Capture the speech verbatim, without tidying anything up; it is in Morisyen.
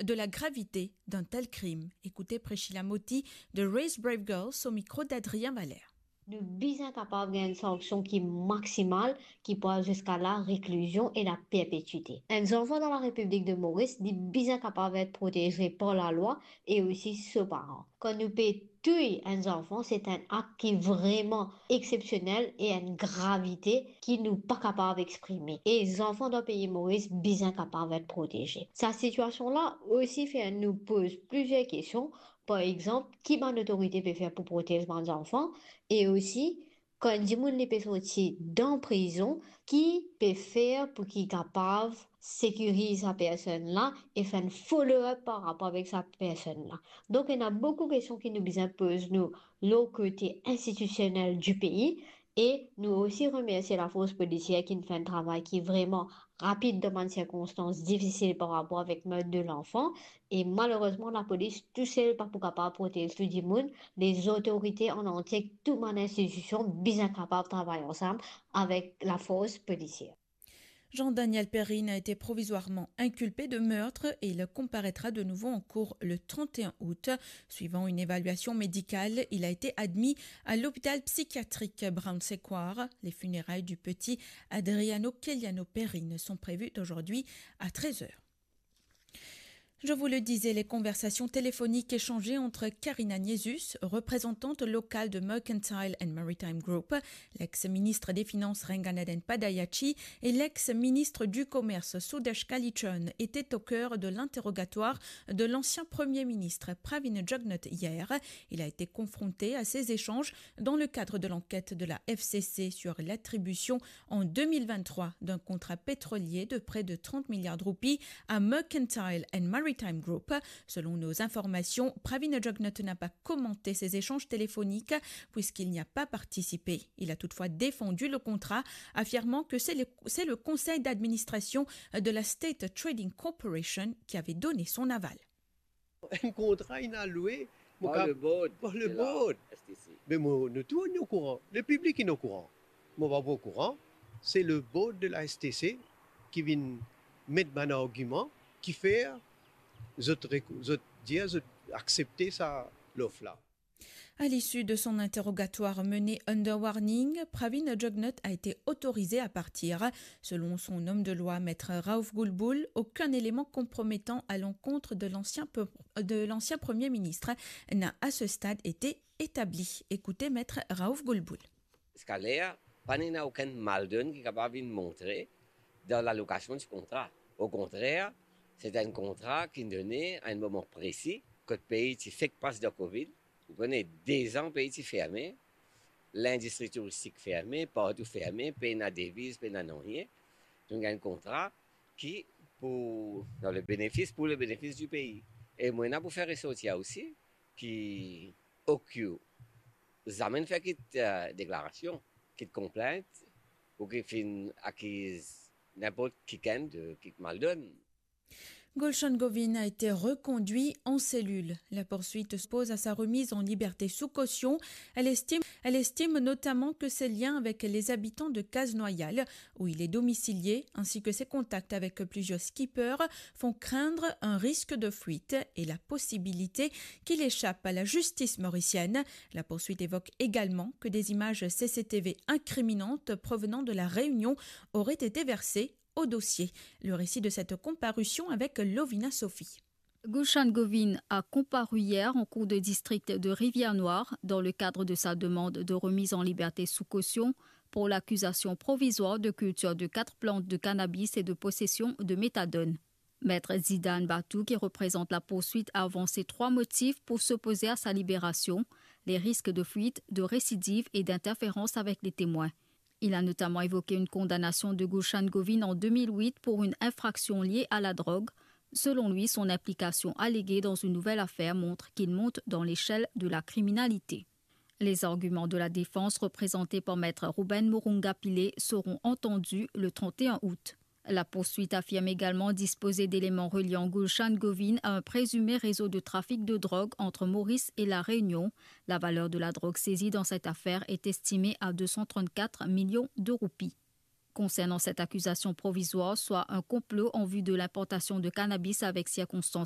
de la gravité d'un tel crime. Écoutez Priscilla Motti de Raise Brave Girls au micro d'Adrien Valère. Nou bizin kapav gagn enn sanksion ki maksimal, ki pou al ziska la reklizion e la perpetwite. Enn zanfan dan la Repiblik de Moris, li bizin kapav et proteze par lalwa e osi so paran. Kan nou pe touy enn zanfan, se enn ak ki vreman exsepsionel e enn gravite ki nou pa kapav exprime. E zanfan dan pei Moris bizin kapav et proteze. Sa sitiasion la osi fer nou poz plizier kestion, par exanp, ki bann otorite pe fer pou protez bann zanfan, e osi, kan enn dimoun li pe sorti dan prizon, ki pe fer pou ki kapav sekiriz sa personn la e fer enn follow-up par rapor avek sa personn la. Donk, ena boukou kestion ki nou bizin poz nou lor kote institisionel di pei, e nou osi remersie lafors polisier ki finn fer enn travay ki vreman rapid dan bann sirkonstans difisil par rapor avek merd de lanfan. E malerezman, lapolis tousel pa pou kapav protez tou dimoun. Lezotorite an antie, tou bann institision bizin kapav travay ansam avek lafors polisier. Jean-Daniel Perrine a été provisoirement inculpé de meurtre et il comparaîtra de nouveau en cour le trente et un août. Suivant une évaluation médicale, il a été admis à l'hôpital psychiatrique Brown Sequard. Les funérailles du petit Adriano Keliano Perrine sont prévues d'aujourd'hui à treize heures. Je vous le disais, les conversations téléphoniques échangées entre Karina Niesus, représentante locale de Mercantile and Maritime Group, l'ex-ministre des Finances Ranganathan Padayachee et l'ex-ministre du Commerce Sudesh Kalichurn étaient au cœur de l'interrogatoire de l'ancien Premier ministre Pravind Jugnauth hier. Il a été confronté à ces échanges dans le cadre de l'enquête de la F C C sur l'attribution en deux mille vingt-trois d'un contrat pétrolier de près de trente milliards de roupies à Mercantile and Maritime Group. Selon nos informations, Pravind Jugnauth n'a pas commenté ces échanges téléphoniques puisqu'il n'y a pas participé. Il a toutefois défendu le contrat, affirmant que c'est le, c'est le conseil d'administration de la State Trading Corporation qui avait donné son aval. Enn kontra inn al lwe, mo Par ka-, le board par le de la board. S T C. Me mo, nou tou, nou okouran. Lepiblik inn okouran. Mo pa pou okouran. Se le board de la S T C ki vinn met bann argiman ki fer zot rek-, zot dir zot aksepte sa lof la. À l'issue de son interrogatoire mené under warning, Pravind Jugnauth a été autorisé à partir. Selon son homme de loi, Maître Raouf Goulboul, aucun élément compromettant à l'encontre de l'ancien pe-, de l'ancien Premier ministre n'a à ce stade été établi. Écoutez Maître Raouf Goulboul. Ziska ler, pa ena okenn maldonn ki kapav vinn montre dan lalokasion di kontra. Okontrer, se enn kontra ki done a enn moman presi, kot pei ti fek pas dan Covid, ou kone, dezan pei ti ferme, lindistri touristik ferme, partou ferme, pena deviz, pena nanye. Donk, enn kontra ki pou, dan le benefis, pou le benefis di pei. E mo ena pou fer resortir osi ki O Q zame fer kit, eh, deklarasion, kit konplint, ou ki finn akiz ninport kikenn de kit maldonn. Gulshan Govin a été reconduit en cellule. La poursuite se pose à sa remise en liberté sous caution. Elle estime, elle estime notamment que ses liens avec les habitants de Case Noyale, où il est domicilié, ainsi que ses contacts avec plusieurs skippers, font craindre un risque de fuite et la possibilité qu'il échappe à la justice mauricienne. La poursuite évoque également que des images C C T V incriminantes provenant de La Réunion auraient été versées au dossier. Le récit de cette comparution avec Lovina Sophie. Gulshan Govin a comparu hier en cour de district de Rivière-Noire dans le cadre de sa demande de remise en liberté sous caution pour l'accusation provisoire de culture de quatre plantes de cannabis et de possession de méthadone. Maître Zidane Batou, qui représente la poursuite, a avancé trois motifs pour s'opposer à sa libération : les risques de fuite, de récidive et d'interférence avec les témoins. Il a notamment évoqué une condamnation de Gulshan Govin en deux mille huit pour une infraction liée à la drogue. Selon lui, son implication alléguée dans une nouvelle affaire montre qu'il monte dans l'échelle de la criminalité. Les arguments de la défense, représentés par Maître Ruben Murunga Pillay, seront entendus le trente et un août. La poursuite affirme également disposer d'éléments reliant Gulshan Govin à un présumé réseau de trafic de drogue entre Maurice et La Réunion. La valeur de la drogue saisie dans cette affaire est estimée à deux cent trente-quatre millions de roupies. Concernant cette accusation provisoire, soit un complot en vue de l'importation de cannabis avec circonstances